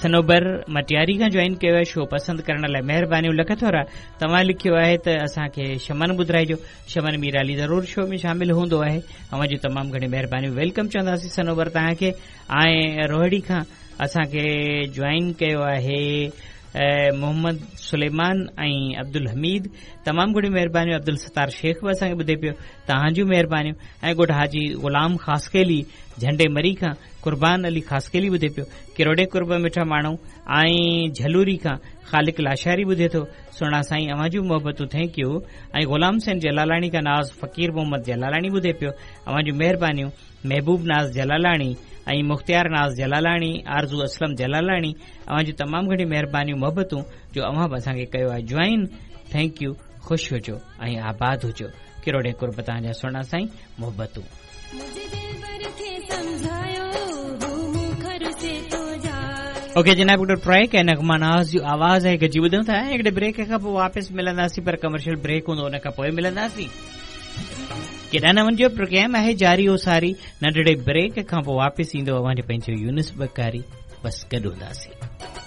صنوبر مٽياري کان جوائن ڪيو آهي شو پسند ڪرڻ لاء مهربانيون لک ٿورا توهان لکيو آهي ته اسان کي شمن ٻڌرائجو شمن ميرالي ضرور شو ۾ شامل هوندو آهي اوهان جون تمام گهڻيون مهربانيون welcome چونداسين صنوبر توهان کي ۽ روهڙي کان اسان کي جوائن ڪيو آهي محمد سليمان ۽ عبدالحميد تمام گهڻيون مهربانيون عبدالستار شيخ به اسان کي ٻڌي پيو توهان جون مهربانيون ۽ ڳوٺ حاجي غلام خاصخيلي جهنڊي مري کان قربان علي خاصخيلي ٻڌي پيو ڪروڙين قرب مٺا ماڻهو ۽ جهلوري کان خالق لاشاري ٻڌي ٿو سهڻا سائين اوهان جون محبتون thank you ۽ Ghulam Hussain Jalalani کان ناز فقير محمد جلالاڻي ٻڌي پيو اوهان جون مهربانيون محبوب ناز جلالاڻي ۽ مختيار ناز جلالاڻي آرزو اسلم جلالاڻي اوهان جون تمام گهڻيون مهربانيون محبتون جو اوهان به اسان کي ڪيو آهي جوائن thank you خوش هجو ۽ آباد هجو ڪروڙين قرب توهان جا سهڻا سائين محبتون اوڪي جناب هڪڙو ٽريڪ ۽ نغمه ناز جو آواز آهي گڏجي ٻڌون ٿا ۽ هڪڙي بريڪ کان پوء واپس ملنداسين پر ڪمرشل بريڪ هوندو ان کان پوء ملنداسين ڪيڏانهن نه وڃجو پروگرام آهي جاري و ساري ننڍڙي بريڪ کان پوء واپس ايندو اوهان جو پنهنجو يونس بڪاري بس گڏ هونداسين.